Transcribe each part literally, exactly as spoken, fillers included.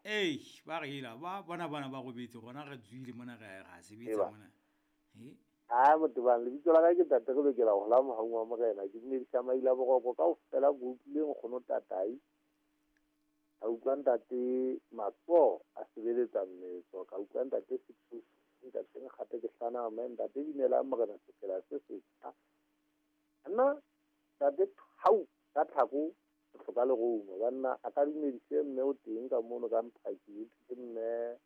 Ei, ba re ela ba bona bana ba robetse rona re tswile mona re ra sebetsa mona. Eh? Ha motebang lebitso la ka ke Ntate re lokela ho la mohaung wa Morena. Ke dumedisa maila boroko kaofela ke utlwile nkgono Tatai. Ka utlwa ntate Matso a sebeletsa mmetso, ka utlwa ntate Sithusi, ntate Nkgate ke hlana mme ntate Dumelang Morena sefela se setjha. Nna ntate Thau ka tlhako hloka lerumo banna a ka dumedise mme o teng ka mono ka Mphaki ke mme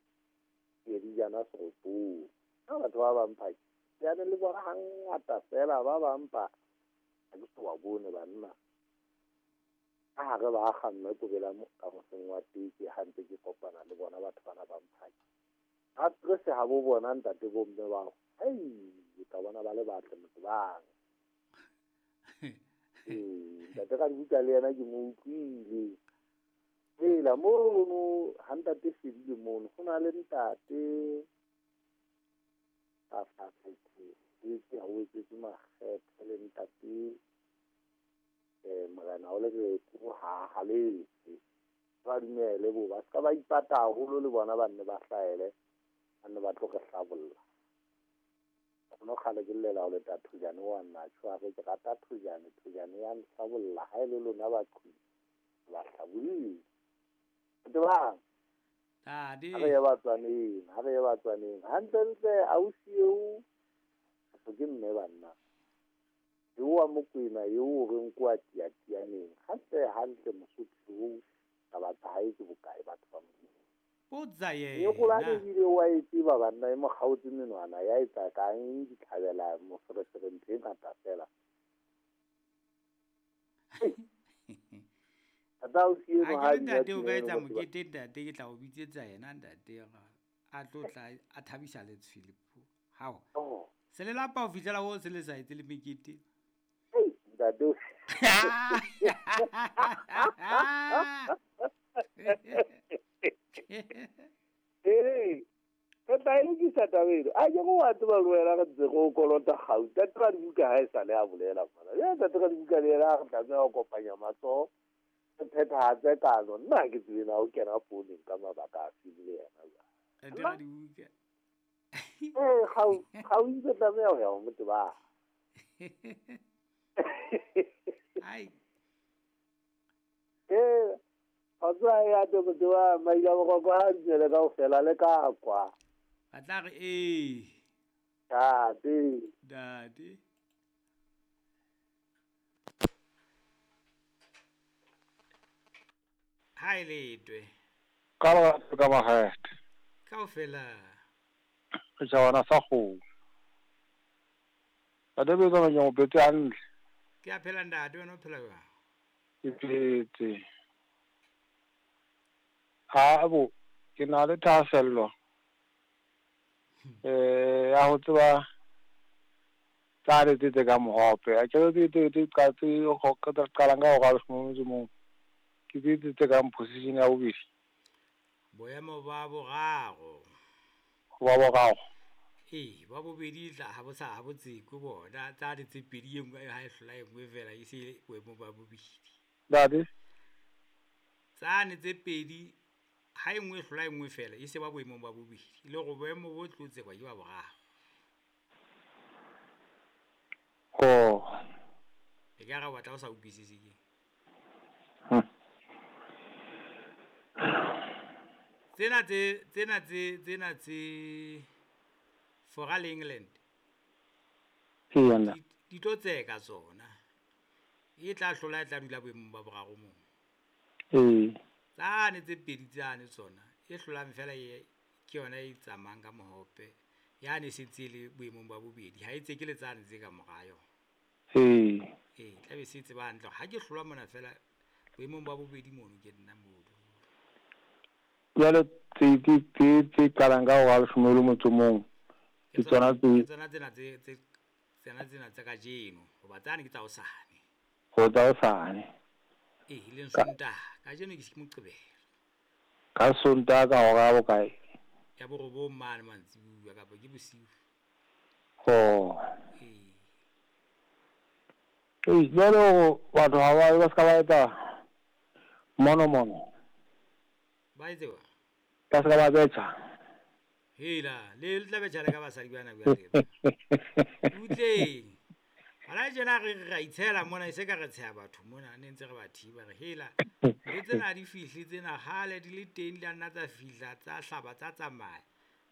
Kedijana Seropong. Ha batho ba ba Mphaki ya ne le bona hangata fela ba ba mpa ha ke so ba bone banna. Ka hare ba akga mme kobela ka moseng wa teke ha ntse ke kopana le bona batho bana ba Mphaki. Ha stress ha bo bona ntate bo mme bao. Hei, ka bona ba le batle motho bang. Ee, ntate ka dibuka le yena ke mo utlwile. Hela mono ha ntate Fedile mono ho na le ntate a fatshe ke ha o etsetse makgethe le ntate eh Morena o le re ko ha haletse. Ba dumele bo ba ska ba ipata haholo le bona ba nne ba hlaele ba nne ba tlo re hlabolla. No kgale ke llela ho le Thojane wa nna tjho ke rata Thojane, Thojane ya nhlabolla ha e le lona baqhi ba hlabolle. Tebang. Tade. Ha re ye batswaneng, ha re ye batswaneng. Hantlentle ausi eo ke mme banna. Eo wa Mokwena eo o reng kwa Tiatianeng. Hantle hantle Mosotho oo taba tsa hae ke bokae batho ba Modimo. Potsa yena. E golane ebile wa e tseba banna e mo kgaotse menwana ya etsa kang ditlhabela moferefere ntho e ngata fela. Tata ausi eno Ha ha ke di ntate o ka pina etsa eno motho ba. mokete ntate ke tla o bitsetsa yena ntate a tlo tla a thabisa letshwele. Hao. Oh. Se le lapa ho fihlela ho se le sa etse le mekete. Ei, ntate o. Ee, re tla e lokisa taba eno. A ke go wa tseba le wena re ntse go kolota gauta. Ntate Radibuka ha e sale a bolela mona. Ya ntate Radibuka le yena re tlameha ho kopanya matsoho. Re phethahatse kano. Nna ha ke tsebe na o kena founung ka mabaka a fe le yena jwale. Ntate Radibuka. Ee, gau gau itse tlameha ho ya ho motebang. Ai. Ee, kgotso ha e ate motebang maila boroko ha dumele kaofela le ka kwa. Ba tla re ee. Ntate. Ntate. Ha e letwe. Ka ba ka makgethe. Kaofela. Re tjhabana sa kgomo. Ntate Betsa ke mo phetse hantle. Ke a phela ntate, wena o phela jwang? Ke phetse. Ha bo ke na le thahasello eh ya ho tseba tsa le tse ka mohope. A ke tse tse tse ka tse go ka qalang ka hora leshome metso mong. Ke tse tse ka position ya bobedi. Boemo ba boraro. Ba boraro. Ee, ba bobedi tla ha bo sa ha bo tsekwe bona tsa le tse pedi e nngwe ha e hlola e nngwe fela e se boemo ba bobedi. Ntate. Tsane tse pedi ha e nngwe e hlola e nngwe fela e se ba boemong ba bobedi. Le go boemo bo tlo tsekwa ke ba boraro. Oh. E ka re o batla o sa utlwisise ke. Hm. Tsena tse tsena tse tsena tse Fora le England. Ee, nna. Di, di tlo tseka tsona. E tla hlola e tla dula boemong ba boraro moo. Ee. Tsane tse pedi tsane tsona e hlolang fela e ke yona e tsamayang ka mohope. Yane e sentse e le boemong ba bobedi. Ha e tseke le tsane tse ka mora yona. Ee. Ee, tla be se tseba hantle. Ha ke hlolwa mona fela boemong ba bobedi mono ke nna mono. Jwale tse tse tse tse qalang ka hora leshome le motso mong. Ke tsona tse Ke tsona tsena tse tse tsena tsena tsa kajeno hoba tsane ke tsa hosane. Ho tsa hosane. Ee, e leng Sontaha. Kajeno ke Moqebelo. Ka Sontaha ka hora ya bokae? Ya borobong mane mantsibuya kapa ke bosiu. Oh. Ee. Ee, jwale batho ha ba ba ska ba etsa mono mono. Ba etse wa? Ba se ka ba betjha. Hela, le le tla betjha le ka basadi bana jwale. Butleng. Hona tjena re re ra itshela mona e se ka re tsheha batho mona ne ntse re ba thiba re hela. Ntho tsena ha di fihle tsena kgale di le teng di a nna tsa fihla tsa hlaba tsa tsamaya.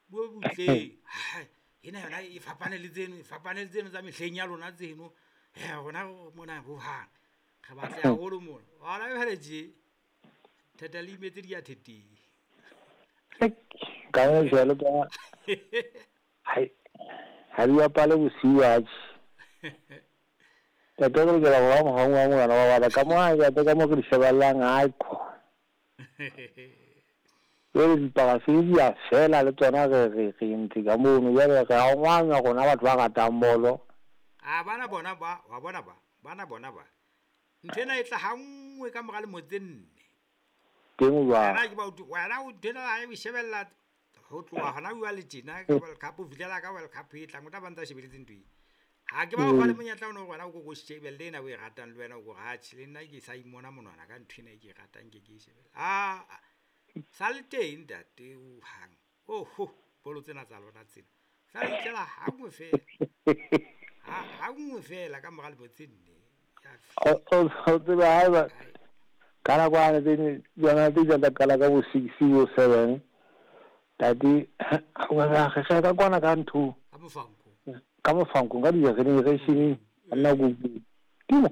Bue butleng. Hai, ena yona e fapane le tseno, e fapane le tseno tsa mehleng ya lona tseno. He rona mona hohang. Re batla haholo mona. Hona jwale tje. Theta le imetse di ya theteng. Ka jwalo ka hai ha di bapale bosiu atjhe. Ntate re lokela ho ba mohau wa ngwana wa bana ka mo ha ke ka mo re di shebellang haikho. Jwale diparafini di a fela le tsona re re re entse ka mono jwale re a ngwanya rona batho ba ratang bolo. A bana bona ba wa bona ba bana bona ba. Ntho ena e tla ha nngwe ka mora lemo tse nne. Teng o jwang? Wena ke ba utlwe wena o ntho ena ha o shebella ho tloha hona jwale tjena ka World Cup ho fihlela ka World Cup e tlang o tla ba ntsa shebeletse ntho e. Ha ke ba o fa le monyetla ono hore wena o ko ko shebelle ena o e ratang le wena o ko re atjhe le nna ke sa imona monwana ka ntho ena e ke e ratang ke ke e shebelle. Ah, sa le teng ntate hohang. Oho, bolo tsena tsa lona tsena. Sa le itlela ha nngwe feela. Ha ha nngwe feela ka mora lemo tse nne. Ya O o o tseba haeba ka nako yane tse tsona tse tsa qala ka bo six bo seven. Tate wa re re ka kwana ka ntho. Ka mofanko. Ka mofanko ka di-generation nna go timo.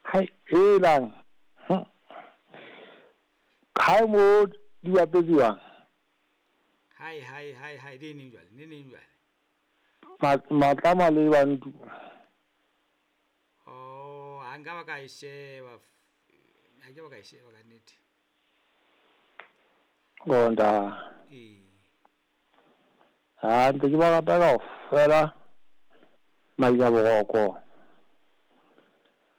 Hai elang. Hai mo di bapetswang. Hai hai hai hai di neng jwale, ne neng jwale. Matlama le bantu. Oh, ha nka ba ka e sheba. Ha ke ba ka e sheba ka nnete. Gonda. Ee. Ha ntse ke ba rata kaofela Maila Boroko.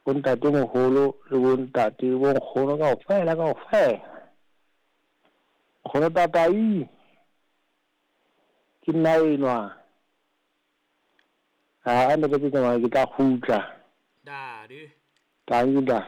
Bo ntate moholo le bo ntate bo nkgono kaofela kaofela. Nkgono tatai. Ke nna enwa. Ha ntate ke tsamaya ke tla kgutla. Dade. Tanki da.